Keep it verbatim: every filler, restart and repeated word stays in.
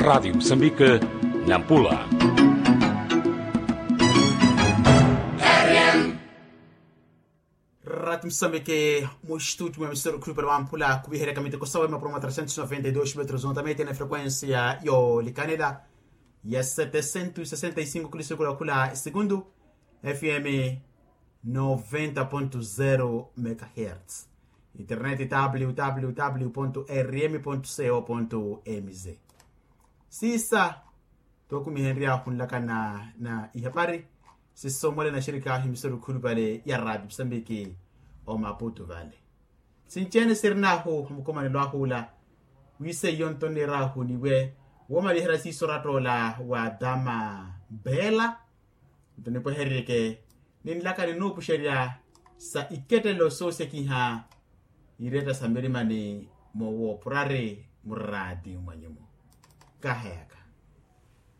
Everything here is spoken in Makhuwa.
Rati musambike, nampula. Rati musambike, mustuti mwa misoro khulupale wamphula khuviheryaka miteko sawe mapuro mwa trecentos noventa y dos metros ontamete na frekuensia yolikanela ya setecentos sesenta y cinco kulisukula khula segundu. Fm noventa ponto zero megahertz. Internet www ponto rm ponto co ponto mz. Siisa tookumihenryahu nlakana na ihapari sisomwale na xirikaahu imisoro khulupale ya rati musambiki omaputu vale. Sinci-ene sirinahu mukomanelo ahu ula, wiseiyo nto nniirahu niwe woomaliherya siiso oratta ola wa dama bela. Nto nipwehererye ke ninlaka ninuupuxerya sa ikettelelo soosekiha iretta sa mirimani mowoopurari muraati mwanyumu. Kaheyaka.